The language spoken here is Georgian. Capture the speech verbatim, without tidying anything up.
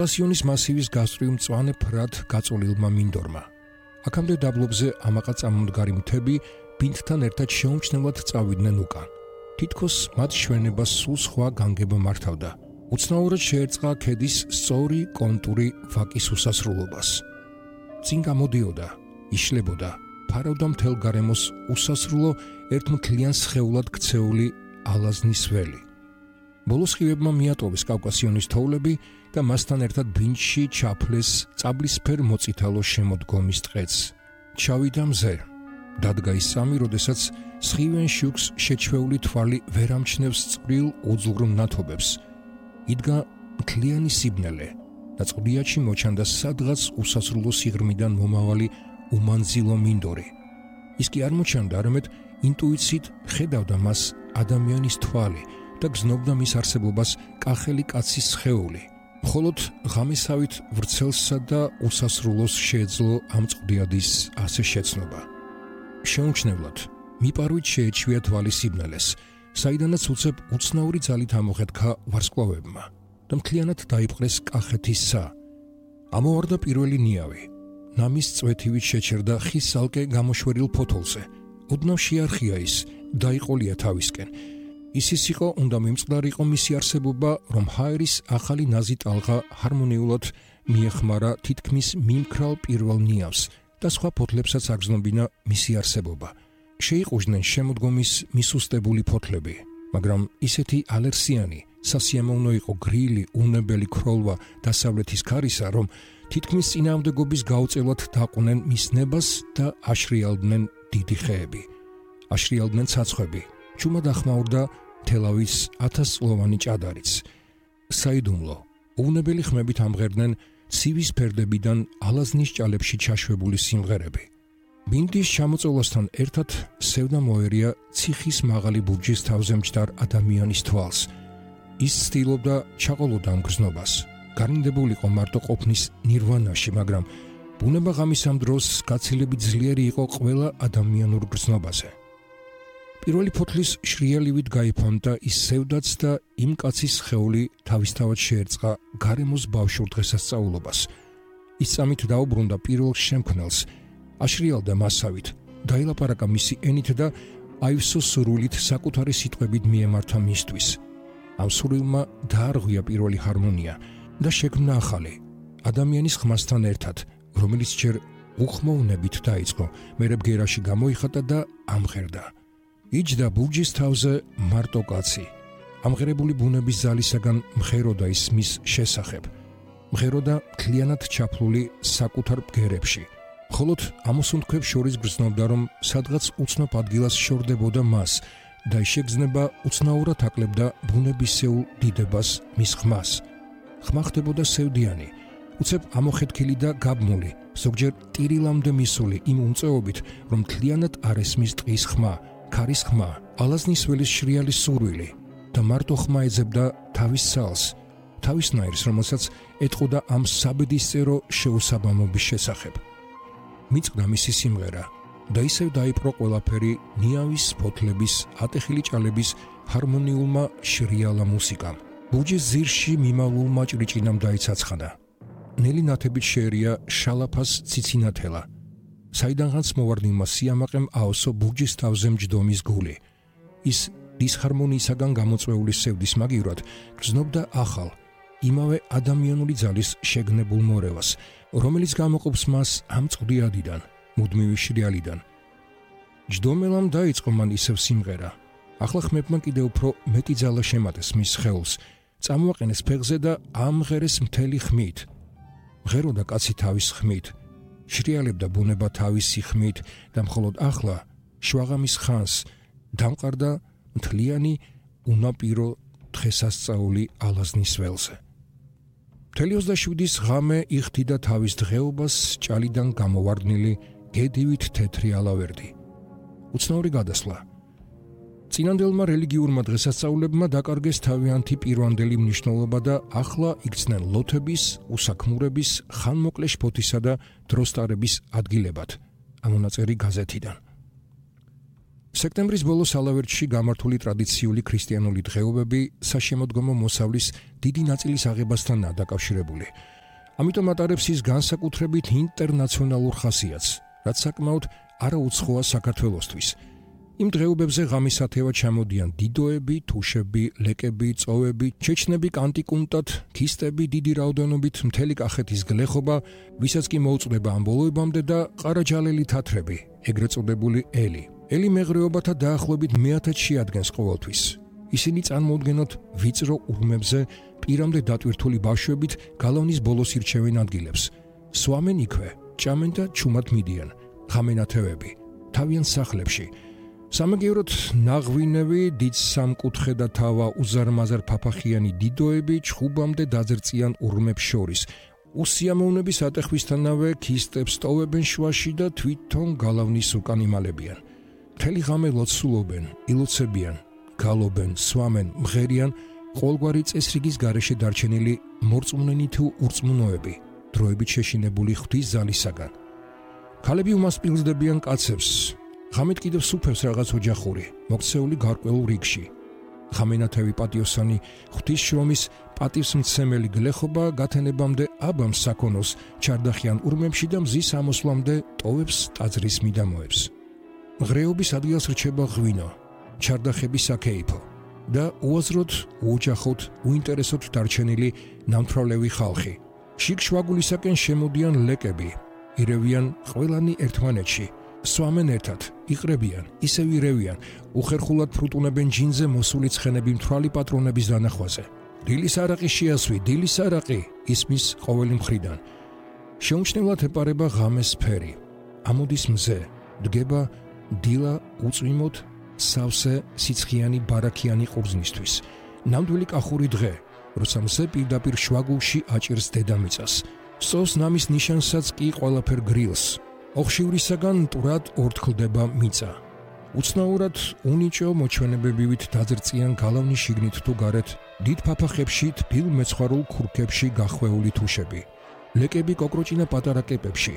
კავკასიონის მასივის გასწვრივ მწვანე ფრად გაწოლილმა მინდორმა. აქამდე დაბლობზე ამაყა წამომდგარი მთები ბინდთან ერთად შეუმჩნევლად წავიდნენ უკან. თითქოს მათ ჩვენებას სულ სხვა განგება მართავდა. უცნაურად შეერწყა ქედის სწორი კონტური ვაკის უსასრულობას. წინ გამოდიოდა, იშლებოდა, ფარავდა მთელ გარემოს უსასრულო ერთმთლიან სხეულად ქცეული ალაზნის ველი. ბოლოს ხივებმა მიატოვეს კავკასიონის თოვლები და მასთან ერთად ბინდში ჩაფლეს წაბლისფერ მოწითალო შემოდგომის ტყეც. ჩავიდა მზე. დადგა ის სამი, როდესაც სხივენ შუქს შეჩვეული თვალი ვერ ამჩნევს წვრილ უძლურ მნათობებს. იდგა მთლიანი სიბნელე და წყდიაჩი მოჩანდა სადღაც უსასრულო სიღრმიდან მომავალი უმანძილო მინდორი. ის კი არ მოჩანდა, არამედ ინტუიციით ხედავდა მას ადამიანის თვალი და გზნობდა მის არსებობას კახელი კაცის სხეული. მხოლოდ ღამესავით ვრცელსა და უსასრულოს შეეძლო ამ წყდიადის ასე შეცნობა. შეუმჩნევლად მიპარვით შეეჩვია თვალი სიბნელეს, საიდანაც უცებ უცნაური ძალით ამოხეთქა ვარსკვლავებმა და მთლიანად დაიპყრეს კახეთის ცა. ამოვარდა პირველი ნიავი. ნამის წვეთივით შეჩერდა ხის ალკე გამოშვერილ ფოთოლზე. ოდნავ შეარხია ის, დაიყოლია თავისკენ. ისის იყო, უნდა მიმწყდარიყო მისი არსებობა, რომ ჰაერის ახალი ნაზი ტალღა ჰარმონიულად მიეხმარა თითქმის მიმქრალ პირველ ნიავს და სხვა ფოთლებსაც აგრძნობინა მისი არსებობა. შეიყუჟდნენ შემოდგომის მისუსტებული ფოთლები, მაგრამ ისეთი ალერსიანი, სასიამოვნო იყო გრილი, უნებელი ქროლვა დასავლეთის ქარისა, რომ თითქმის წინააღმდეგობის გაუწევად დაყვნენ მის ნებას და აშრიალდნენ დიდი ხეები. აშრიალდნენ ცაცხვები. ჩუმად ახმაურდა თელავის ათასწლოვანი ჭადარიც. საიდუმლო, უვნებელი ხმებით ამღერდნენ ცივის ფერდებიდან ალაზნის ჭალებში ჩაშვებული სიმღერები. ბინდის ჩამოწოლასთან ერთად სევდა მოერია ციხის მაღალი ბურჯის თავზე მჯდარ ადამიანის თვალს. ის ცდილობდა ჩაყოლოდა ამ გრძნობას. გარნდებულიყო მარტო ყოფნის ნირვანაში, მაგრამ ბუნება ღამის ამ დროს გაცილებით ძლიერი იყო ყველა ადამიანურ გრძნობაზე. პირველი ფოთლის შრიალივით გაიფანტა ის სევდაც და იმ კაცის სხეული თავისთავად შეერწყა გარემოს ბავშვურ დღესასწაულობას. ის წამით დაუბრუნდა პირველ შემქმნელს, აშრიალდა მასავით, დაილაპარაკა მისი ენით და აივსო სურვილით საკუთარი სიტყვებით მიემართა მისთვის. ამ სურვილმა დაარღვია პირველი ჰარმონია და შექმნა ახალი, ადამიანის ხმასთან ერთად, რომელიც ჯერ უხმოვნებით დაიწყო, მერე ბგერაში გამოიხატა და ამღერდა. იჯდა ბურჯის თავზე მარტო კაცი. ამღერებული ბუნების ძალისაგან მღეროდა ის მის შესახებ. მღეროდა მთლიანად ჩაფლული საკუთარ ბგერებში. მხოლოდ ამოსუნთქვებს შორის გრძნობდა, რომ სადღაც უცნობ ადგილას შორდებოდა მას და შეგრძნება უცნაურად აკლებდა ბუნებისეულ დიდებას მის ხმას. ხმა ხდებოდა სევდიანი, უცებ ამოხეთქილი და გაბმული, ზოგჯერ ტირილამდე მისული იმ უმწეობით, რომ მთლიანად არ ესმის ტყის ხმა, ქარის ხმა, ალაზნის ველის შრიალის სურვილი და მარტო ხმა ეძებდა თავის ცალს, თავისნაირს, რომელსაც ეტყოდა ამ საბედისწერო შეუსაბამობის შესახებ. მიწყდა მისი სიმღერა და ისევ დაიპყრო ყველაფერი ნიავის ფოთლების, ატეხილი ჭალების ჰარმონიულმა შრიალა მუსიკამ. ბურჯის ძირში მიმავლულმა ჭრიჭინამ დაიცაცხადა. ნელი ნათებით შეერია შალაფას ციცინათელა. საიდანღაც მოვარდნილმა სიამაყემ აოსო ბურჯის თავზე მჯდომის გული. ის დისჰარმონიისაგან გამოწვეული სევდის მაგივრად გრძნობდა ახალ, იმავე ადამიანური ძალის შეგნებულ მორევას, რომელიც გამოყოფს მას ამ წყდიადიდან, მუდმივი შრიალიდან. ჯდომელამ დაიწყო მან ისევ სიმღერა. ახლა ხმებმა კიდევ უფრო მეტი ძალა შემატეს მის სხეულს, წამოაყენეს ფეხზე და ამღერეს მთელი ხმით. მღეროდა კაცი თავის ხმით, შრიალებდა ბუნება თავისი ხმით და მხოლოდ ახლა, შვაღამის ხანს, დამყარდა მთლიანი უნაპირო დღესასწაული ალაზნის ველზე. მთელი ოცდაშვიდის ღამე იხდიდა თავის დღეობას ჭალიდან გამოვარდნილი გედივით თეთრი ალავერდი. უცნაური გადასვლა. წინანდელმა რელიგიურმა დღესასწაულებმა დაკარგეს თავიანთი პირვანდელი მნიშვნელობა და ახლა იქცნენ ლოთების, უსაქმურების, ხანმოკლე შფოთისა და დროსტარების ადგილებად. ამონაწერი გაზეთიდან. სექტემბრის ბოლოს ალავერტში გამართული ტრადიციული ქრისტიანული დღეობები საშემოდგომო მოსავლის დიდი ნაწილის აღებასთანაა დაკავშირებული. ამიტომ ატარებს ის განსაკუთრებით ინტერნაციონალურ ხასიათს, რაც საკმაოდ არაუცხოა საქართველოსთვის. იმ დღეობებზე ღამისათევად ჩამოდიან დიდოები, თუშები, ლეკები, წოვები, ჩეჩნები კანტიკუნტად, ქისტები დიდი რაოდენობით, მთელი კახეთის გლეხობა, ვისაც კი მოუწდება ამ ბოლოებამდე და ყარაჯალელი თათრები, ეგრეთ წოდებული ელი. ელი მეღრეობათა დაახლოებით მეათედში ადგენს ყოველთვის. ისინი წარმოუდგენლად ვიწრო ურმებზე პირამდე დატვირთული ბავშვებით გალავნის ბოლოს ირჩევენ ადგილებს. სვამენ იქვე, ჭამენ და ჩუმად მიდიან. ღამენათევები, თავიანთ სახლებში. სამაგიეროდ ნაღვინევი, დიდ სამკუთხედა თავა უზარმაზარ ფაფახიანი დიდოები ჩხუბამდე დაძრწიან ურმებს შორის. უსიამოვნების ატეხვისთანავე ქისტებს ტოვებენ შუაში და თვითონ გალავნის უკან იმალებიან. მთელი ღამე ლოცულობენ, ილოცებიან, გალობენ, სვამენ, მღერიან ყოველგვარი წესრიგის გარეშე დარჩენილი მორწმუნენი თუ ურწმუნოები, დროებით შეშინებული ღვთის ძალისაგან. ქალები უმასპინძლდებიან კაცებს, ღამით კიდევ სუფევს რაღაც ოჯახური, მოქცეული გარკვეულ რიგში. ღამენათევი პატიოსანი ღვთის შრომის პატივსმცემელი გლეხობა გათენებამდე აბამს საქონოს ჩარდახიან ურმებში და მზის ამოსვლამდე ტოვებს ტაძრის მიდამოებს. მღრეობის ადგილს რჩება ღვინო, ჩარდახების საკეიფო და უაზროდ, უოჯახოდ, უინტერესოდ დარჩენილი ნამთვრალევი ხალხი. შიგ-შვაგულისაკენ შემოდიან ლეკები, ირევიან ყველანი ერთმანეთში, სვამენ ერთად, იყრებიან, ისევ ირევიან, უხერხულად ფრუტუნებენ ჯინზე მოსული ცხენები მთვრალი პატრონების დანახვაზე. დილის არაყი შეასვი, დილის არაყი, ისმის ყოველი მხრიდან. შეუმჩნევლად ეპარება ღამეს ფერი, ამოდის მზე, დგება დილა უწვიმოდ სავსე სიცხიანი ბარაქიანი ყურძნისთვის. ნამდვილი კახური დღე, როცა მზე პირდაპირ შვაგულში აჭირს დედამიწას. სწოვს ნამის ნიშანსაც კი ყველაფერ გრილს. ოხშივრისაგან მტვრად ორთქლდება მიწა. უცნაურად უნიჭო მოჩვენებებივით დაძრწიან გალავნის შიგნით თუ გარეთ დიდ ფაფახებში თბილ მეცხვარულ ქურქებში გახვეული თუშები. ლეკები კოკროჭინა პატარა კეპებში.